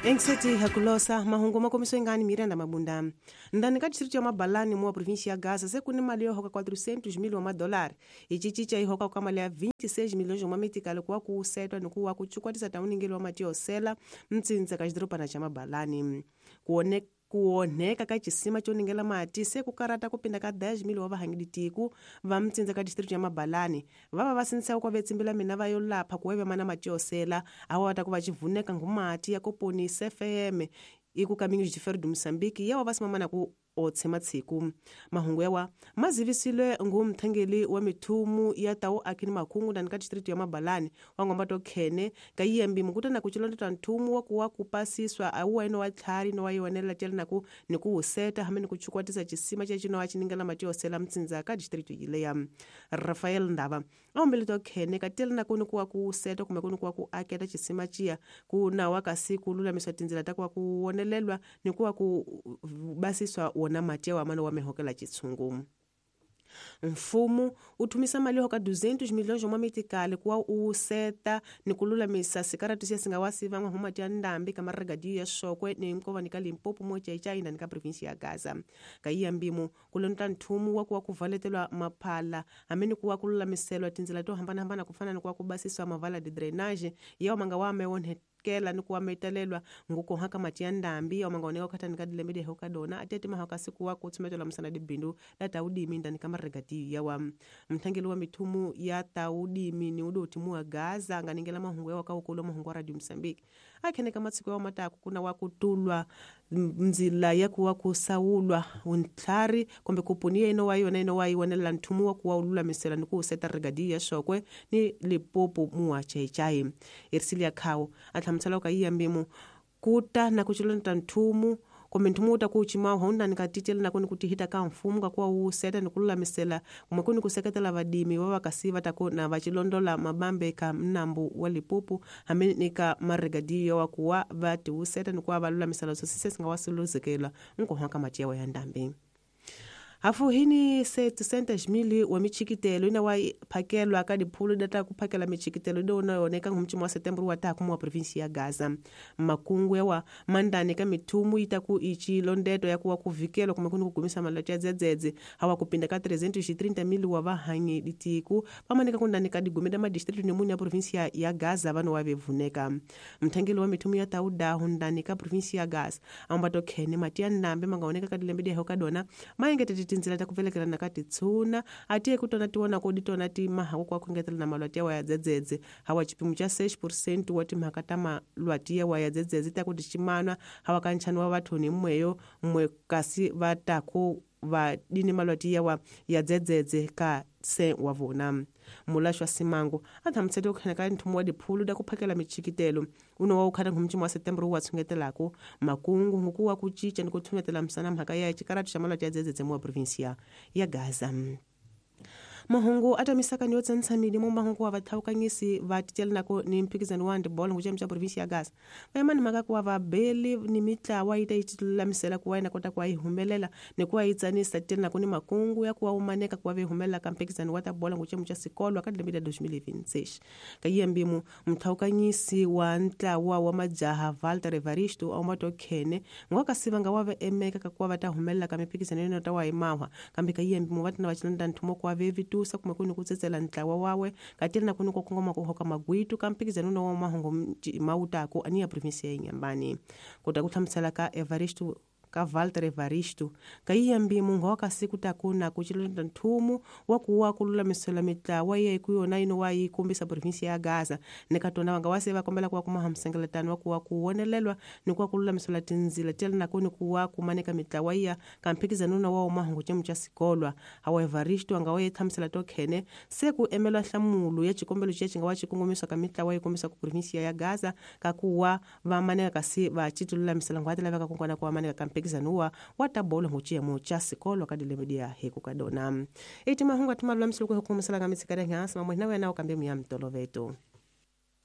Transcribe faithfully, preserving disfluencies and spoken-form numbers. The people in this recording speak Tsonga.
Engiseti hakulosa mahungu makomiso ingani Miranda Mabunda. Ndani ka distrito ya Mabalani mwa província ya Gaza se kuni mali yo hoka quatrocentos mil wa dólar. Ichichicha ihoka kwa mali ya vinte e seis milhões wa mitikalo kwa kusetwa ni kuwa kuchukwatisa tauningelo wa matio sela mtsinza ka xidorobana xa Mabalani. Kuone kuoneka ka xisima xo ningela mati se ku karata ku pinda ka dez mil wa vahangiditiku va mtsinza ka district ya Mabalani va va va sinisa ku vetsimbila mina va yo lapha ku weve mana mati yo sela awa ta ku va xivuneka ngumati ya koponisa F M iku Caminhos de Ferro do Moçambique yawa va simamana ku otshema tshiku mahungu yawa mazivisile ngumthengeli wa mithumu ya tawu akini makhungu ndani ka district ya Mabalani wa ngomba to khene ka yembi mukutana ku chilonda nthumu wa kuwa kupasiswa aweno wa tlhari no wa yonela tshela ku ni ku seta hamene ku chukwatisa xisima xa xino wa xiningela mati yo sela mtsinza ka district yile ya Rafael Ndava ombele to khene ka tshela ku ni ku wa ku seta kumbe ku ni ku wa ku aketa xisima xiya ku na wa kasi ku lulamiswa tindzela ta ku wa ku wonelelwa ni ku wa ku basiswa na mati wa mano wa mehokela chitsungu. Mfumo uthumisa mali hoka duzentos milhões wa mitikali kuwa useta ni kululamisa sikaratu siya singawasi vangwa humati ya ndambi kama regadio ya Shokwe ni mkova nika Limpopo moja ichaina nika provinsi ya Gaza. Kaiya mbimu kulonta nthumu wa kuwa kuvaletelwa maphala ameni kuwa kululamiselwa tindzela to hambana hambana kufana ni kuwa kubasiswa mavala de drainage yawa manga wa mewonhe kela ni kuwa metalelwa nguko haka mati ya ndambi ya manga oneka kata nikadilemede hoka dona atete mahaka siku wa kutsumetola msana dibindu la taudimi ndani kama regati ya wa mthangeli wa mithumu ya taudimi ni udoti muwa Gaza nganingela mahungu ya wakaukulo mahungu wa Radio Mozambique akhene kama tsiku ya mataku kuna wakutulwa mzila ya kuwa kusaulwa untlari kombe kupunia ino wayo na ino wayo wanela nthumu wa kuwa ulula misela ni kuuseta regadi ya Shokwe ni Limpopo muwa chaichai Ersilia Khao athamtsala ka iyambimu kuta na kuchilonta nthumu kumbe nthumu uta kuchima honda nikatitela na kuni kutihita ka mfumo ka kuwa useta ni kululamisela kumwe kuni kuseketela vadimi wa vakasi va ta na vachilondola mabambe ka mnambu wa Limpopo hamene ni ka maregadiyo wa kuwa va tiuseta ni kuwa va lulamisela sosise singawasiluzekela nkohwa mati yawa ya ndambi. Hafu hini setecentos mil wa michikitelo ina wa phakelwa ka diphulu data ku phakela michikitelo do na yoneka ngumchimo wa Setembro wa ta kumwa province ya Gaza makungu yawa mandani ka mithumu ita ku ichi londeto ya kuwa kuvikelo kumwe kuni kugumisa malati ya dzedzedze hawa kupinda ka trezentos e trinta mil wa vahangi ditiku pamanika kundani ka digumeda ma distrito nemuni ya province ya, ya Gaza vano wa vevuneka mthangeli wa mithumu ya tauda hundani ka province ya Gaza ambato khene mati ya ndambe mangaoneka ka dilembe dia hoka maengete tindzela ta ku velekela na ka titshuna atiye ku tona tiwona ko ditona ti mahaku kwa khongetela na malwati ya dzedzedze hawa xipimo xa seis por cento wa timhaka ta malwati ya dzedzedze ta ku diximanwa hawa ka nchani wa vathoni mweyo mwe kasi va ta ku va dini malwati ya ya dzedzedze ka se wa vona mulaxwa Simango a thamusete ku khana ka nthumu wa diphulu da ku phakela michikitelo uno wa ukhana ngumchimo wa Setembro wa tshungetelako makungu nguku wa ku cinca ni ku tshumetela misana mhaka ya xikaratu xa malwati ya dzedzedze mu wa provinsia ya Gaza. Mahungu atamisaka ni yotsantshamile mo mahungu wa vathawukanyisi va titela nako ni mphikizano wa handball nguchem xa province ya Gaza vayimani mhaka ku wa vabeli ni mitlawa yi ta yi tilulamisela ku wa yina kota ku wa yi humelela ni ku wa yi tsanisa titela nako ni makungu ya ku wa umaneka ku wa ve humelela ka mphikizano wa ta bola nguchem xa sikolo ka lembe la dois mil e vinte e seis ka yembimu mthawukanyisi wa ntlawa wa majaha Walter Evaristo a umato khene ngoka sivanga wa ve emeka ka ku wa va ta humelela ka mphikizano yona ta wa yi mahwa kambe ka yembimu va tina va chilonda nthumo ku wa ve vitu kumwe kuni kutsetsela ntlawa wawe katela na kuni kukongoma kuhoka magwitu ka mphikizano no wa mahungu mautako ani ya province ya Inhambane kota ku hlamusela ka Evaristo ka Walter Evaristo ka yiyambimu ngoka siku takuna ku chilonda nthumu wa kuwa ku lulamisela mitlawa ye ku yona ino wa yi kombisa province ya Gaza ni ka tona vanga wase va kombela ku wa kuma hamsengeletano wa kuwa ku wonelelwa ni ku wa ku lulamisela tindzila tela na kuni ku wa kumaneka mitlawa ya ka mphikizano na wa mahungu chemu cha sikolwa hawa Evaristo anga wa thamusela to khene se ku emelwa hlamulo ya xikombelo xa xinga wa xikongomisa ka mitlawa yi kombisa ku province ya Gaza ka kuwa va maneka kasi va chitululamisela ngwati laveka ku kona ku wa maneka ka mphikizano wa ta bolo nguchiyemo cha sikolo ka dilembe heko ka dona eti mahungu atima lulamisela ku hikumisela ka mitshika ya hansi mamwe na wena ukambe muya mtoloveto.